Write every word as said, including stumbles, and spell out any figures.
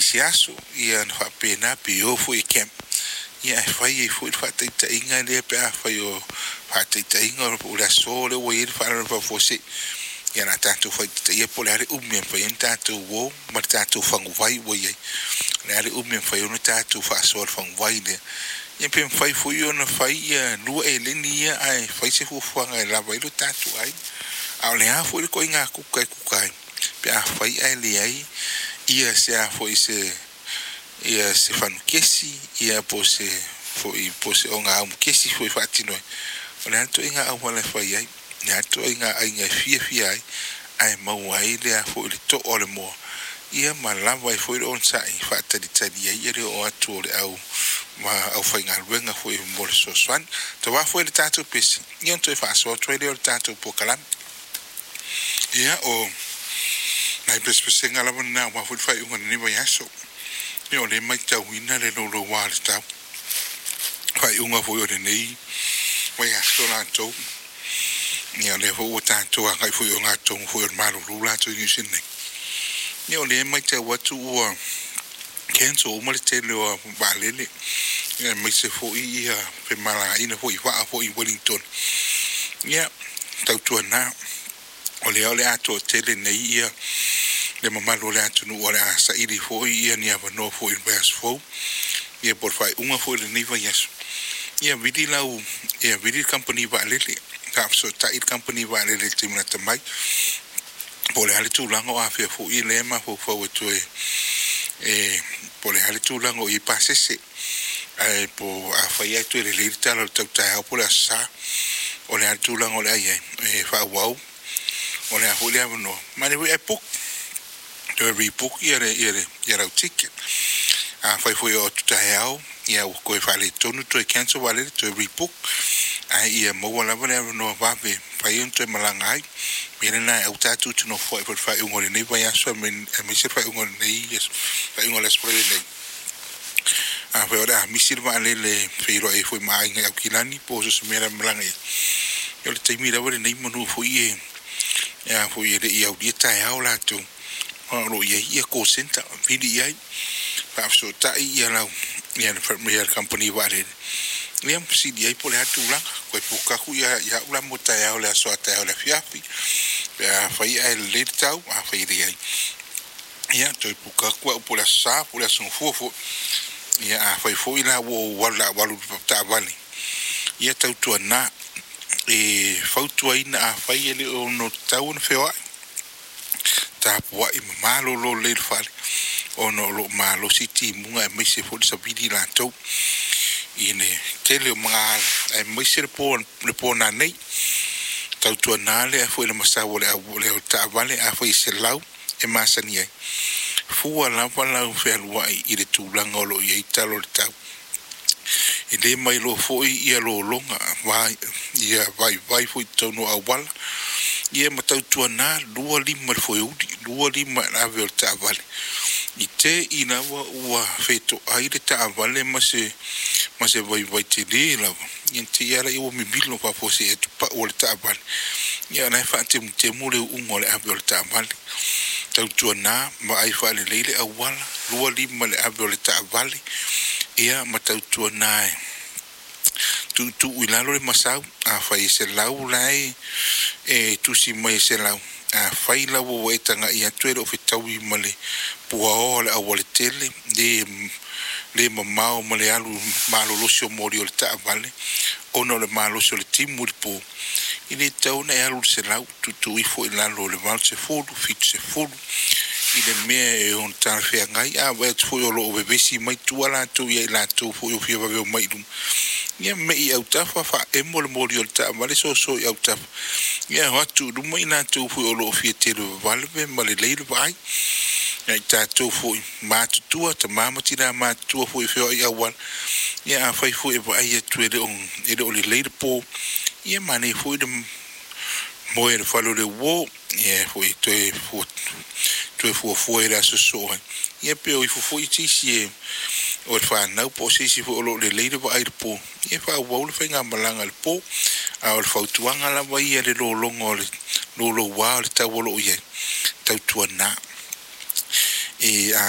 I se aso ia na faapena pe o foi e camp ia e fai ai foi le faataitaiga lea pe afai o faataitaiga o le aso lea ua i ai le faalavelave faafuasei ia na tatou faitaitaia po o le a le umi e mafai ai ona tatou o ma le tatou faguvai ua i ai. O le a le umi e mafai ai ona tatou faasoa i le faguvai lea. Ia pe mafai foi ona fai ia lua eleni ia ae fai se fuafuaga e lava ai lo tatou aiga. A o le a foi le ituaiga kuka e kuka ai pe afai ae leai ia se a foi se ia se fanukesi ia po se foi po se ogāumukesi foi faatino ai. O le a le ituaiga auala e fai ai, o le a le ituaiga aiga e fiafia ai ae maua ai le a foi le to'a o le moa ia ma lava ai foi le onosai faatalitali ai le oo atu o le au ma aufaigaluega foi mo le fesoasoani. Tauā foi le tatou pese ia ona toe faasoa atu ai lea o le tatou polokalame. Ia o nai pesepesega lava lena aua foi le faaiuga o lenei vaiaso. Ia o lea e matauina le louloua o le tau faaiuga foi o lenei vaiaso latou. Ia o lea foi ua tatou agai foi i ogatotonu foi o le malulu latou i Niu Sila nei. Ia o lea e matau atu ua cancel uma le tele o vaalele aemaise foi ia femalagaaiga foi i vaa foi i Wellington. Ia tautuana o lea o le a toatele nei ia le mamalu o le atunuu o le a saili foi ia ni avanoa foi i le vaiaso fou ia po o le faaiuga foi o lenei vaiaso. Ia vili lau ia vili le kamupani vaalele, faafesootai le kamupani vaalele i le taimi lata mai po o le a le tulaga o afea foi lea e mafaufau e toe e po o le a le tulaga o i ai pasese ae po afai ae toe lelei le tala o le tau taeao po o le Aso Sa o le a le tulaga o le a i ai e faaauau o le a foi le avanoa manaia foi ae book toe rebook ia le ia le ia lau ticket. Afai foi o atu taeao ia ua toe faaletonu toe cancel vaalele toe rebook ae ia maua lava le avanoa vave mafai ona toe malaga ai. O le mea lena e aua tatou te nofoai foi i le faaiuga o lenei vaiaso aemaise le faaiuga o lenei faaiuga o le Aso Faraile nei. Afai o le a misi le vaalele e feiloai ai foi ma aiga i Aukilani po o so o se mea o le a malaga i ai, ia o le taimi lava lenei manu foi e a foi e le i aulia taeao latou o lo o i ai ia call centre vili i ai faafesootai ia lau ia le kamupani vaalele ia ma fesili ai po o le a le tulaga. Toe book atu ia ia au la mo taeao le aso a taeao i le afiafi pe afai ae lelei le tau, afai e leai ia toe book atu au po o le Aso Sa po o le Aso Gafua foi. Ia afai foi la ua ou alu o le a ou alu i le taavale ia tautuana e fautuaina afai e le ono tatau ona feoai tapuai ma malolo lelei i le fale ona o lo o malosi timuga aemaise foi le savili latou i le tele o magaala aemaise le po le po nanei. Tautuana le foi le masau o le au le taavale afai e selau e masani ai fua lava lau fealuai i le tulaga o lo o i ai tala o le tau. E le mailoa foi ia lologa vai ia vaivai foi i totonu o auala ia ma tautuana lua lima i le foeuli, lua lima i le ave o le taavale. I te i lava ua fetoai le taavale ma se ma se vaivai tele lava ia ona te i lava lea ua mimilo faafuasei atu pau o le taavale ia o la e faatemutemu le uuga o le ave o le taavale. Tautuana vaai faalelei le auala, lua lima i le ave o le taavale ia ma tautuana e tuutuu i lalo le masau. Afai e selau la e e tusi mai e selau, afai lava ua e tagai atu e le o fetaui ma le puaoa o le aualatele le le mamao ma le alu malolosi o moli o le taavale ona o le malosi o le timu i le po, e le tatau ona e alu i le selau, tuutuu ifo i lalo o le valusefulu, fitusefulu i le mea e ono talafeagai. A vaai atu foi o lo o vevesi mai tua latou ia i latou foi o fia vave omai i luma, ia mei i autafa faaemo le moli o le taavale soso i autafa ia o atu i luma i latou foi o lo o fia televavave ma lelei le vaai. Ia i tatou foi matutua, tama ma tina matutua foi e feoai i auala, ia afai foi e vaai atu e le o e le o lelei le po, ia manaia foi le moe i le fale o le uo, ia foi toe fua toe fuafua i le aso sosoo ai. Ia pe o ifo foi se isi e o le fanau po o se isi foi o lo o lelei le vaai i le po, ia faaauau le faigamalaga i le po. A o le fautuaga lava ia i le lologa o le louloua o le tau o lo o i ai, tautuana e a